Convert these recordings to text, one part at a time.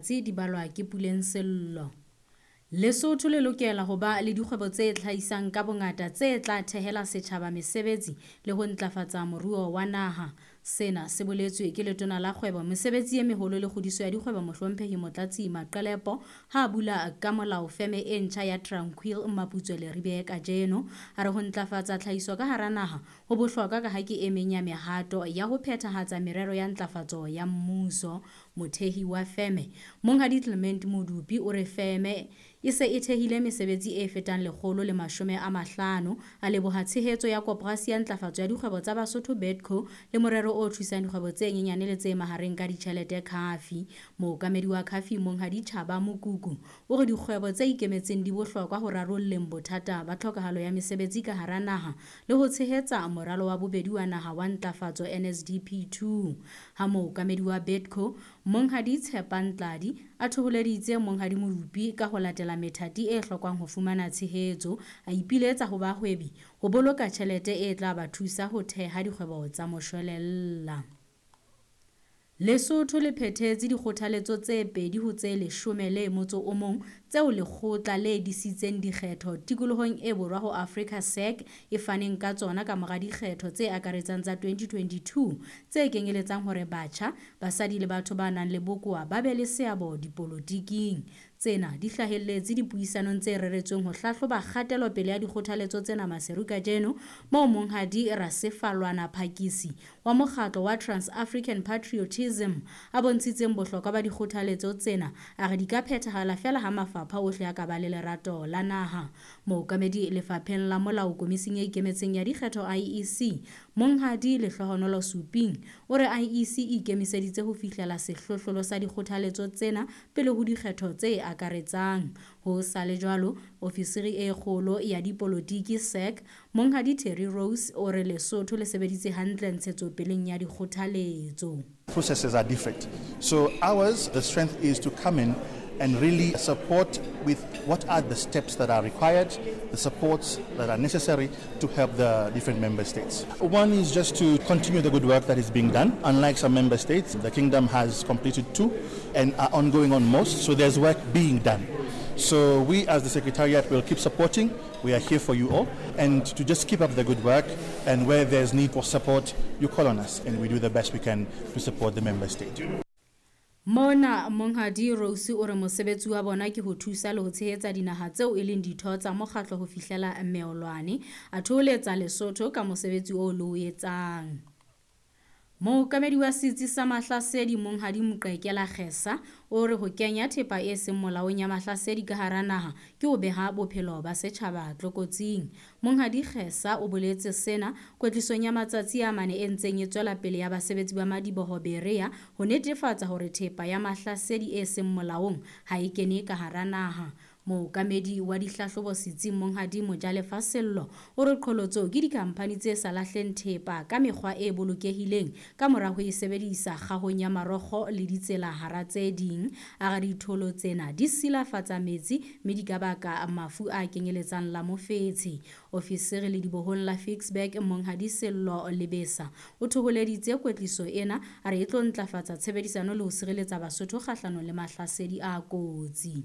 Tse di balwa ke Puleng Sello. Lesotho le lokela ho ba le dikgwebo tse hlahisang ka bongata tse tla thehela setjhaba mesebetsi le ho ntlafatsa moruo wa naha. Sena se boletswe ke letona la kgwebo, mesebetsi e meholo le kgodiso ya dikgwebo Mohlomphehi Motlatsi Maqelepo ha a bula ka molao feme e ntjha ya Tranquil Maputswe Leribe kajeno. A re ho ntlafatsa tlhahiso ka hara naha ho bohlokwa ka ha ke e meng ya mehato ya ho phethahatsa merero ya ntlafatso ya mmuso. Mothehi wa feme, Monghadi Clement Modupi o re feme e se e thehile mesebetsi e fetang 150. A leboha tshehetso ya Koporasi ya Ntlafatso ya Dikgwebo tsa Basotho BEDCO le morero o thusang dikgwebo tse nyenyane le tse mahareng ka ditjhelete CAFI. Mookamedi wa CAFI Monghadi Chaba Mokuku o re dikgwebo tse ikemetseng di bohlokwa ho rarolleng bothata ba tlhokahalo ya mesebetsi ka hara naha le ho tshehetsa moralo wa bobedi wa naha wa ntlafatso NSDP 2. Ha mookamedi wa BEDCO Monghadi Tshepang Tladi a thoholeditse Monghadi Modupi ka ho latela methati e hlokwang ho fumana tshehetso, a ipiletsa ho bahwebi ho boloka tjhelete e tla ba thusa ho theha dikgwebo tsa moshwelella. Lesotho le phethetse dikgothaletso tse 2 ho tse 11 tseo lekgotla le disitseng dikgetho tikolohong e borwa ho Afrika SADC e faneng ka tsona ka mora dikgetho tse akaretsang tsa 2022 tse kenyeletsang hore batjha, basadi le batho ba nang le bokowa ba be le seabo dipolotiking. Tsena di hlahelletse dipuisanong tse reretsweng ho hlahloba kgatelopele ya dikgothaletso tsena Maseru kajeno, moo Monghadi Rasefalwana Phakisi wa mokgatlo wa Trans-African Patriotism a bontshitseng bohlokwa ba dikgothaletso tsena, a re di ka phethahala feela ha mafapha ohle a ka ba le lerato la naha. Mookamedi lefapheng la molao komising e ikemetseng ya dikgetho IEC, Monghadi Lehlohonolo Suping, o re IEC e ikemiseditse ho fihlela sehlohlolo sa dikgothaletso tsena pele ho dikgetho tse akaretsang. Ho sa le jwalo, ofisiri e kgolo ya dipolotiki SAC, Monghadi Terry Rose, o re Lesotho le sebeditse hantle ntshetsopeleng ya dikgothaletso. Processes are different. So ours, the strength is to come in and really support with what are the steps that are required, the supports that are necessary to help the different member states. One is just to continue the good work that is being done. Unlike some member states, the kingdom has completed 2 and are ongoing on most, so there's work being done. So we as the Secretariat will keep supporting. We are here for you all, and to just keep up the good work, and where there's need for support, you call on us and we do the best we can to support the member state. Mona Monghadi Rose o re mosebetsi wa bona ke ho thusa le ho tshehetsa dinaha tseo e leng ditho tsa mokgatlo ho fihlela meolwane, a thoholetsa Lesotho ka mosebetsi oo le o etsang. Mookamedi wa setsi sa Mahlasedi Monghadi Moqekela Kgesa o re ho kenya thepa e seng molaong ya mahlasedi ka hara naha ke ho beha bophelo ba setjhaba tlokotsing. Monghadi Kgesa o boletse sena kwetlisong ya matsatsi a mane e ntseng e tswela pele ya basebetsi ba madiboho Berea ho netefatsa hore thepa ya mahlasedi e seng molaong ha e kene ka hara naha. Mookamedi wa dihlahlobo setsing Monghadi Mojalefa Sello o re qholotso ke dikhamphani tse sa lahleng thepa ka mekgwa e bolokehileng ka mora ho e sebedisa kgahong ya marokgo le ditsela hara tse ding. A re ditholo tsena di silafatsa metsi mme di ka baka mafu a kenyeletsang la mofetshe. Ofisiri le dibohong la Ficksburg Monghadi Sello Lebesa o thoholeditse kwetliso ena, a re e tlo ntlafatsa tshebedisano le ho sireletsa Basotho kgahlanong le mahlasedi a kotsi.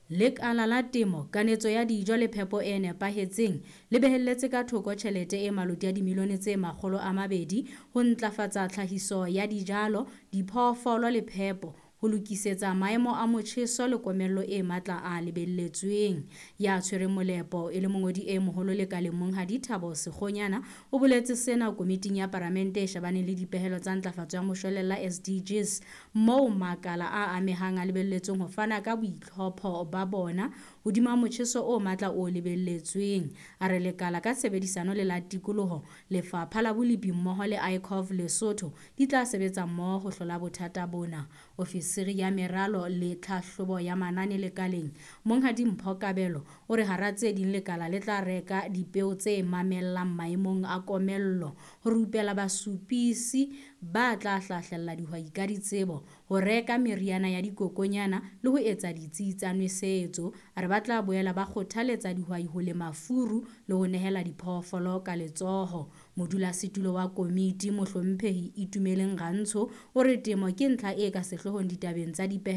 Lekala la temo, kanetso ya dijo le phepo e nepahetseng le behelletse ka thoko tjhelete e maloti ya dimilione tse 200 ho ntlafatsa tlhahiso ya dijalo, diphoofolo le phepo, ho lokisetsa maemo a motjheso le komello e matla a lebelletsweng. Ya tshwereng molepo e le mongodi e moholo lekaleng Monghadi Thabo Sekgonyana o boletse sena komiting ya Palamente e shebaneng le dipehelo tsa ntlafatso ya moshwelella SDGs, moo makala a amehang a lebelletsweng ho fana ka boitlhopho ba bona hodima motjheso o matla o lebelletsweng. A re lekala ka tshebedisano le la tikoloho, lefapha la bolepi mmoho le ICOV Lesotho di tla sebetsa mmoho ho hlola bothata bona. Ofisiri ya meralo le tlhahlobo ya manane lekaleng Monghadi Mpho Kabelo o re hara tse ding lekala le tla reka dipeo tse mamellang maemong a komello, ho rupela basupisi ba tla hlahlella dihwai ka ditsebo, ho reka meriana ya dikokonyana le ho etsa ditsi tsa nwesetso. A re ba tla boela ba kgothaletsa dihwai ho lema furu le ho nehela diphoofolo ka letsoho. Modulasetulo wa komiti Mohlomphehi Itumeleng Rantsho o re temo ke ntlha e ka sehloohong ditabeng tsa dipehelo